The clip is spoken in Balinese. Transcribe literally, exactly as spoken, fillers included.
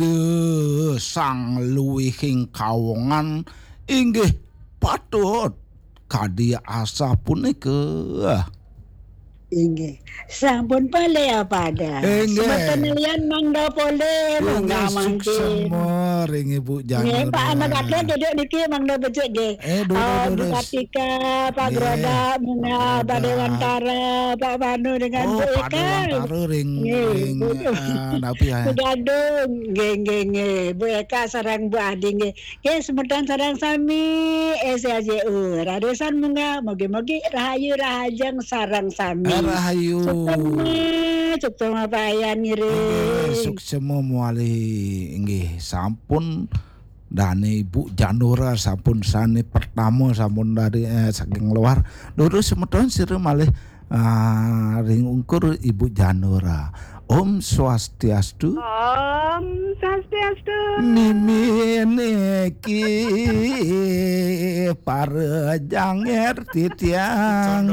Ida sang luwihing kawongan inggih patut kadi asa punika. Inggih. Sampun polih apa ada? Inggih. Semeton lian mangda polih, inggih, munggah mangkin. Suksema ring Ibu Janura. Nggih, Pak Anak Atur duduk niki mangda becik nggih. Eh, duduk, eh, Bu duduk. Katika, Pak Nggih, Grodak, Pak Munga, Pak Grodak. Dewantara, Pak Manu dengan, oh, Bu Pak Eka. Dewantara ring, nggih, ring, Bu. Eh, napi ya? Begadung, nggih, nggih, nggih. Bu Eka sareng Bu Adi nggih. Nggih, semeton sareng sami, S L J U. Radosan munggah, mugi-mugi rahayu rahajeng sareng sami. Eh, rahayu. Suksema, suksema payan ngiring. Nggih, suksema mawali. Nggih, sampun dane Ibu Janura sampun sane pertama sampun dari, eh, saking luar. Durus semeton sira malih, ah, ring ungkur Ibu Janura. Om Swastiastu. Om Swastiastu. Mimi niki para janger titiang.